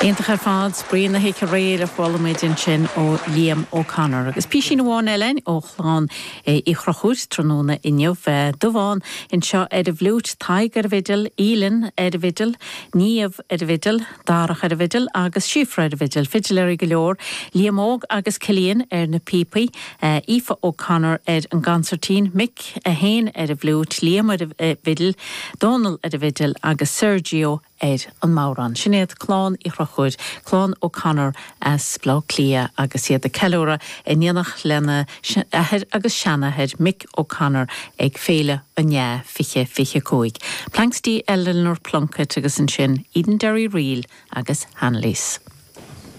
Iontach ar fad, spraoi na hoíche aréir a chuala muid ansin ó Liam O'Connor. Agus písín amháin eile ó chlann Uí Chonchúir tráthnóna inniu. Dubhán anseo ar an bhfliúit, Tadhg ar an bhfidil, Aoileann ar an bhfidil, Niamh ar an bhfidil, Darach ar an bhfidil agus Síofra ar an bhfidil. Fidiléirí go leor. Liam Óg agus Cillian ar na píopaí, Aoife O'Connor ar an gconsairtín, Mick féin ar an bhfliúit, Liam ar an bhfidil, Dónal ar an bhfidil agus Sergio ar an mbodhrán. Sin iad Clann Uí Chonchúir, Clann O'Connor as Baile Átha Cliath agus iad ag ceiliúradh in éineacht lena athair agus seanathair Mick O'Connor ag Féile an Fhleadh 2025. Planxty Eleanor Plunkett agus ansin Edenderry Reel agus Hanleys.